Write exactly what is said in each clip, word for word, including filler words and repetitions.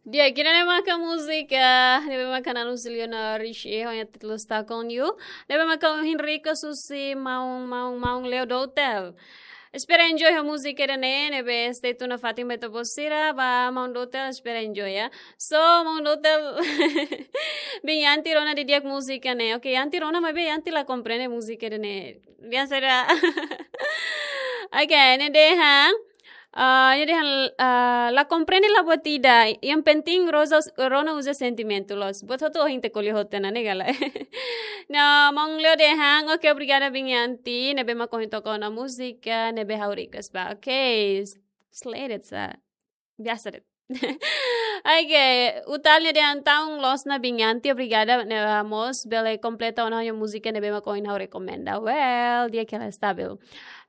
Di'ak, ida-ne'e maka múzika ne'ebé maka Nana Lucilio Norris, eh, ho nia títulu Stuck on You. Ne'ebé maka ohin request husi maun, maun, maun Leo Dotel. Espera enjoy ho múzika ida-ne'e, ne'ebé stay tune nafatin ba ita-boot sira, ba maun Dotel, espera enjoy, ya. So, maun Dotel, biin Yanti rona didi'ak múzika ne'e. Oke, Yanti rona, maibé Yanti la komprende múzika ida-ne'e. Biasa ida. Oke, ne'e dehan. Ah, ne'e dehan, ah, la komprende la buat ida. Yang penting Rosa, rona uza sentimentu loos. Buat hotu ohin ita ko'alia hotu ona, ne'e ka lae. No, maun Leo dehan, oke, obrigada biin Yanti, ne'ebé mak ohin toka ona múzika ne'ebé ha'u request ba. Oke, s-, slay de'it sá. Biasa de'it. Oke, Utal ne'e dehan tau loos ona biin Yanti, obrigada, ne'e, ah, mós bele kompleta ona ha'u-nia múzika ne'ebé mak ohin ha'u rekomenda. Well, di'ak, hela stabil.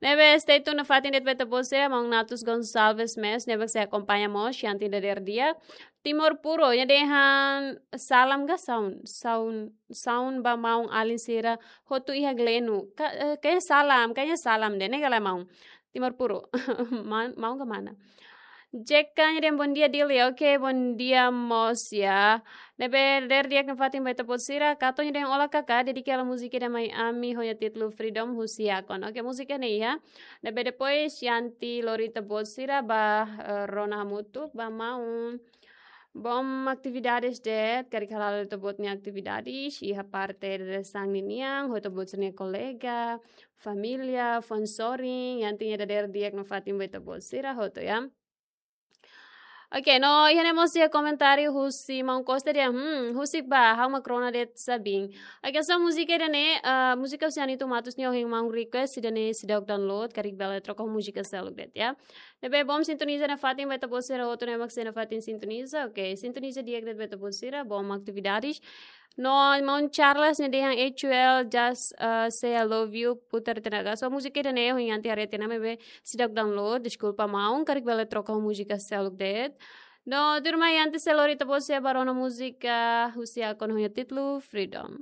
Ne'ebé stay tune nafatin de'it ba ita-boot sira, maun Natus Gonçalves mós, ne'ebé sei akompaña mós, Yanti dadeer di'ak. Timor Puro, ne'e dehan salam ka saun, saun, saun ba maun-alin sira hotu iha Gleno. Ka-, eh, kayaknya salam, kayaknya salam de'it, ne'e ka lae maun. Timor Puro. Man-, maun ka mana? Jeka ne'e dehan bom dia Dili, oke, bom dia mós ya. Ne'ebé dadeer di'ak nafatin ba ita-boot sira, Kato ne'e dehan olá Kaká, dedika hela múzika ida mai ami, ho nia títulu Freedom husi Yakon. Oke, múzika ne'e ya. Ne'ebé depois Yanti lori ita-boot sira ba, eh, rona hamutuk, ba maun. Bom atividades de'it, karik hala'o ita-boot nia atividades, iha parte dadeer-saan ninian, ho ita-boot sira-nia kolega, família, fun sorin, Yanti nia dadeer di'ak nafatin ba ita-boot sira hotu ya. Oke, no, iha ne'e mós iha komentáriu husi maun Costa dehan, hmm, husik ba, ha'u mak rona de'it sá biin. Oke, so múzika ida-ne'e, ah, múzika husi Anito Matos nian ohin maun request, ida-ne'e seidauk download, karik bele troka ho múzika seluk de'it ya. Ne'ebé bom sintoniza nafatin ba ita-boot sira hotu ne'ebé mak sei nafatin sintoniza. Oke, sintoniza di'ak de'it ba ita-boot sira, bom atividades. No, maun Charles ne'e dehan H U L, just, uh, say I love you, putar tenaga. So, múzika ida-ne'e ohin Yanti haree tiha ona maibé seidauk download, deskulpa maun, karik bele troka ho múzika seluk de'it. No, tuirmai Yanti sei lori ita-boot sira ba rona múzika husi Yakon ho nia títulu Freedom.